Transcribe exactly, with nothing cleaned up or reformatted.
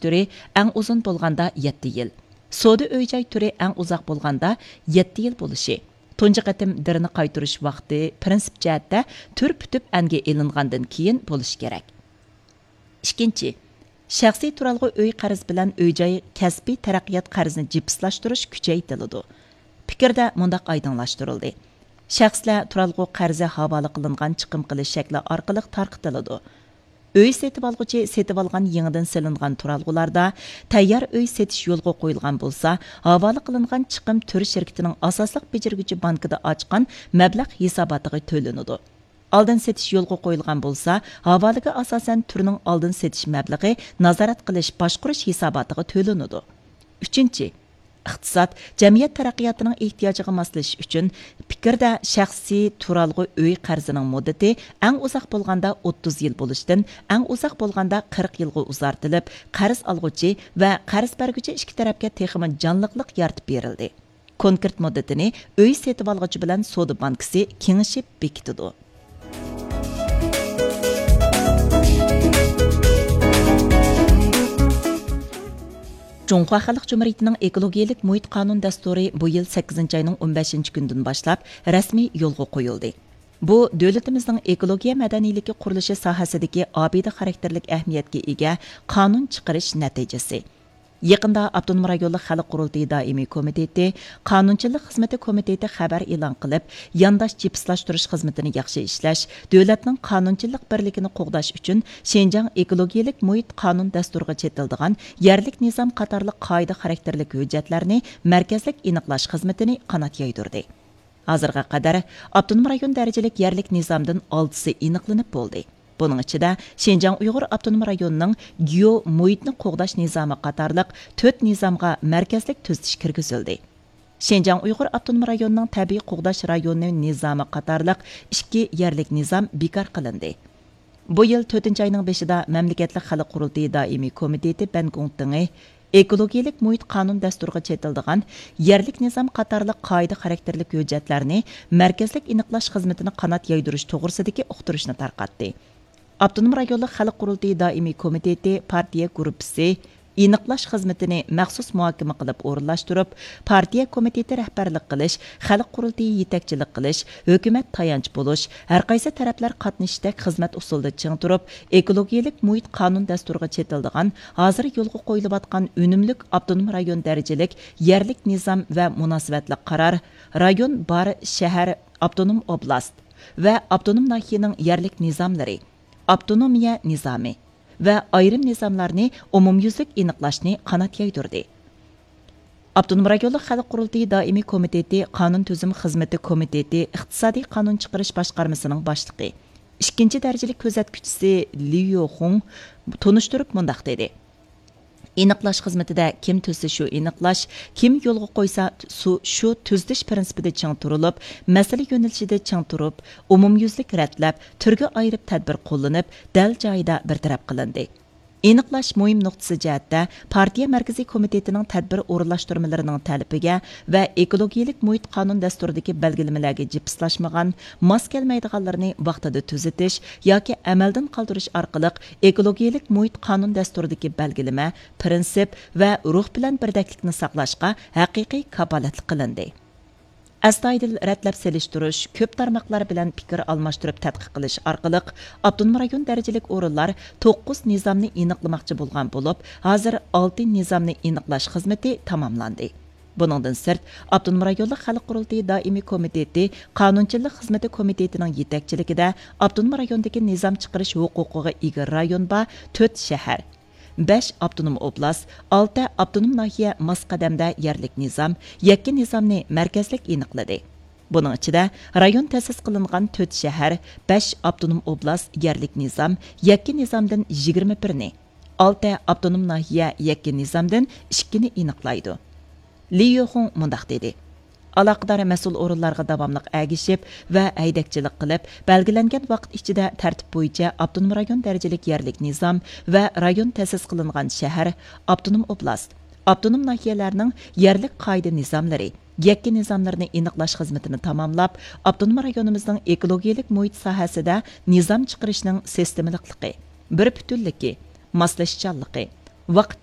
تۈرى ئەڭ ئۇزۇن بولغاندا يەتتە يىل، سودا ئۆي-جاي تۈرى ئەڭ ئۇزاق بولغاندا يەتتە يىل بولۇشى، تۇنجى قېتىم دىرنى قايتۇرۇش ۋاقتى پىرىنسىپ جەھەتتە تۈر پۈتۈپ ئەنگە ئېلىنغاندىن كېيىن بولۇشى كېرەك. ئىككىنچى، شەخسىي تۇرالغۇ ئۆي قەرز بىلەن ئۆي-جاي كەسپىي تەرەققىيات قەرزىنى جىپسلاشتۇرۇش كۈچەيتىلىدۇ. پىكىردە مۇنداق ئايدىڭلاشتۇرۇلدى: شەخسلەر تۇرالغۇ قەرزى ھاۋالە قىلىنغان چىقىم قىلىش شەكلى ئارقىلىق تارقىتىلىدۇ. ئۆي سېتىۋالغۇچى سېتىۋالغان يېڭىدىن سېلىنغان تۇرالغۇلاردا تەييار ئۆي سېتىش يولغا قويۇلغان بولسا، ھاۋالە قىلىنغان چىقىم تۈر شىركىتىنىڭ ئاساسلىق بېجىرگۈچى بانكىدا ئاچقان مەبلەغ ھېساباتىغا تۆلىنىدۇ. ئالدىن سېتىش يولغا قويۇلغان بولسا، ھاۋالىگە ئاساسەن تۈرنىڭ ئالدىن سېتىش مەبلىغى نازارەت قىلىش باشقۇرۇش ھېساباتىغا تۆلىنىدۇ. ئۈچىنچى، ئىقتىساد، جەمئىيەت تەرەققىياتىنىڭ ئېھتىياجىغا ماسلىشىش ئۈچۈن پىكىردە شەخسىي تۇرالغۇ ئۆي قەرزىنىڭ مۇددىتى ئەڭ ئۇزاق بولغاندا ئوتتۇز يىل بولۇشتىن ئەڭ ئۇزاق بولغاندا قىرىق يىلغا ئۇزارتىلىپ، قەرز ئالغۇچى ۋە قەرز بەرگۈچى ئىككى تەرەپكە تېخىمۇ جانلىقلىق يارىتىپ بېرىلدى. كونكرېت مۇددىتىنى ئۆي سېتىۋالغۇچى بىلەن سودا بانكىسى كېڭىشىپ بېكىتىدۇ. جۇڭخۇا خەلق جۇمھۇرىيىتىنىڭ ئېكولوگىيەلىك مۇھىت قانۇن دەستۇرى بۇ يىل سەككىزىنچى ئاينىڭ ئون بەشىنچى كۈنىدىن باشلاپ رەسمىي يولغا قويۇلدى. بۇ دۆلىتىمىزنىڭ ئېكولوگىيە مەدەنىيلىكى قۇرۇلۇشى ساھەسىدىكى ئابىدە خاراكتېرلىك ئەھمىيەتكە ئىگە قانۇن چىقىرىش نەتىجىسى. يېقىندا ئاپتونوم رايونلۇق خەلق قۇرۇلتىيى دائىمىي كومىتېتى، قانۇنچىلىق خىزمىتى كومىتېتى خەۋەر ئېلان قىلىپ، يانداش جىپسلاشتۇرۇش خىزمىتىنى ياخشى ئىشلەش، دۆلەتنىڭ قانۇنچىلىق بىرلىكىنى قوغداش ئۈچۈن شىنجاڭ ئېكولوگىيەلىك مۇھىت قانۇن دەستۇرىغا چېتىلىدىغان يەرلىك نىزام قاتارلىق قائىدە خاراكتېرلىك ھۆججەتلەرنى مەركەزلىك ئېنىقلاش خىزمىتىنى قانات يايدۇردى. ھازىرغا قەدەر ئاپتونوم رايون دەرىجىلىك يەرلىك نىزامدىن ئالتىسى ئېنىقلىنىپ بولدى. بۇنىڭ ئىچىدە شىنجاڭ ئۇيغۇر ئاپتونوم رايونىنىڭ گېئو مۇھىتنى قوغداش نىزامى قاتارلىق تۆت نىزامغا مەركەزلىك تۈزىتىش كىرگۈزۈلدى. شىنجاڭ ئۇيغۇر ئاپتونوم رايونىنىڭ تەبىئىي قوغداش رايونى نىزامى قاتارلىق ئىككى يەرلىك نىزام بىكار قىلىندى. بۇ يىل تۆتىنچى ئاينىڭ بېشىدا مەملىكەتلىك خەلق قۇرۇلتىيى دائىمىي كومىتېتى بەنگۇڭتىڭى ئېكولوگىيەلىك مۇھىت قانۇن دەستۇرىغا چېتىلىدىغان يەرلىك نىزام قاتارلىق قائىدە خاراكتېرلىك ھۆججەتلەرنى مەركەزلىك ئېنىقلاش خىزمىتىنى قانات يايدۇرۇش توغرىسىدىكى ئۇقتۇرۇشنى تارقاتتى. ئاپتونوم رايونلۇق خەلق قۇرۇلتىيى دائىمىي كومىتېتى پارتىيە گۇرۇپپىسى ئېنىقلاش خىزمىتىنى مەخسۇس مۇھاكىمە قىلىپ ئورۇنلاشتۇرۇپ، پارتىيە كومىتېتى رەھبەرلىك قىلىش، خەلق قۇرۇلتىيى يېتەكچىلىك قىلىش، ھۆكۈمەت تايانچ بولۇش، ھەرقايسى تەرەپلەر قاتنىشىشتەك خىزمەت ئۇسۇلىدا چىڭ تۇرۇپ، ئېكولوگىيەلىك مۇھىت قانۇن دەستۇرىغا چېتىلىدىغان ھازىر يولغا قويۇلۇۋاتقان ئۈنۈملۈك ئاپتونوم رايون دەرىجىلىك يەرلىك نىزام ۋە مۇناسىۋەتلىك قارار، رايون بار شەھەر، ئاپتونوم ئوبلاست ۋە ئاپتونوم ناھىيەنىڭ يەرلىك نىزاملىرى، ئاپتونومىيە نىزامى ۋە ئايرىم نىزاملارنى ئومۇميۈزلۈك ئېنىقلاشنى قانات يايدۇردى. ئاپتونوم رايونلۇق خەلق قۇرۇلتىيى دائىمىي كومىتېتى قانۇن تۈزۈم خىزمىتى كومىتېتى ئىقتىسادىي قانۇن چىقىرىش باشقارمىسىنىڭ باشلىقى، ئىككىنچى دەرىجىلىك كۆزەتكۈچىسى ليۇ يوخۇڭ تونۇشتۇرۇپ مۇنداق دېدى: ئېنىقلاش خىزمىتىدە كىم تۈزسە شۇ ئېنىقلاش، كىم يولغا قويسا سۇ-، شۇ تۈزىتىش پىرىنسىپىدا چىڭ تۇرۇلۇپ، مەسىلە يۆنىلىشىدە چىڭ تۇرۇپ، ئومۇميۈزلۈك رەتلەپ، تۈرگە ئايرىپ تەدبىر قوللىنىپ، دەل جايىدا بىر تەرەپ قىلىندى. ئېنىقلاش مۇھىم نۇقتىسى جەھەتتە پارتىيە مەركىزىي كومىتېتىنىڭ تەدبىر ئورۇنلاشتۇرمىلىرىنىڭ تەلىپىگە ۋە ئېكولوگىيەلىك مۇھىت قانۇن دەستۇرىدىكى بەلگىلىمىلەرگە جىپسلاشمىغان، ماس كەلمەيدىغانلىرىنى ۋاقتىدا تۈزىتىش ياكى ئەمەلدىن قالدۇرۇش ئارقىلىق ئېكولوگىيەلىك مۇھىت قانۇن دەستۇرىدىكى بەلگىلىمە، پىرىنسىپ ۋە روھ بىلەن بىردەكلىكنى ساقلاشقا ھەقىقىي كاپالەتلىك قىلىندى. ئەستايىدىل رەتلەپ سېلىشتۇرۇش، كۆپ تارماقلار بىلەن پىكىر ئالماشتۇرۇپ تەتقىق قىلىش ئارقىلىق، ئاپتونوم رايون دەرىجىلىك ئورۇنلار توققۇز نىزامنى ئېنىقلىماقچى بولغان بولۇپ، ھازىر ئالتە نىزامنى ئېنىقلاش خىزمىتى تاماملاندى. بۇنىڭدىن سىرت، ئاپتونوم رايونلۇق خەلق قۇرۇلتىيى دائىمىي كومىتېتى قانۇنچىلىق خىزمىتى كومىتېتىنىڭ يېتەكچىلىكىدە ئاپتونوم رايوندىكى نىزام چىقىرىش ھوقۇقىغا ئىگە رايون بار تۆت شەھەر، بەش ئاپتونوم ئوبلاست، ئالتە ئاپتونوم ناھىيە ماس قەدەمدە يەرلىك نىزام، يەككە نىزامنى مەركەزلىك ئېنىقلىدى. بۇنىڭ ئىچىدە رايون تەسىس قىلىنغان تۆت شەھەر، بەش ئاپتونوم ئوبلاست يەرلىك نىزام، يەككە نىزامدىن يىگىرمە بىرنى، ئالتە ئاپتونوم ناھىيە يەككە نىزامدىن ئىككىنى ئېنىقلايدۇ. لى يوخۇڭ مۇنداق دېدى: ئالاقىدار مەسئۇل ئورۇنلارغا داۋاملىق ئەگىشىپ ۋە ھەيدەكچىلىك قىلىپ، بەلگىلەنگەن ۋاقىت ئىچىدە تەرتىپ بويىچە ئاپتونوم رايون دەرىجىلىك يەرلىك نىزام ۋە رايون تەسىس قىلىنغان شەھەر، ئاپتونوم ئوبلاست، ئاپتونوم ناھىيەلەرنىڭ يەرلىك قائىدە نىزاملىرى، يەككە نىزاملىرىنى ئېنىقلاش خىزمىتىنى تاماملاپ، ئاپتونوم رايونىمىزنىڭ ئېكولوگىيەلىك مۇھىت ساھەسىدە نىزام چىقىرىشنىڭ سىستېمىلىقلىقى، بىر پۈتۈنلۈكى، ماسلىشىشچانلىقى، ۋاقىت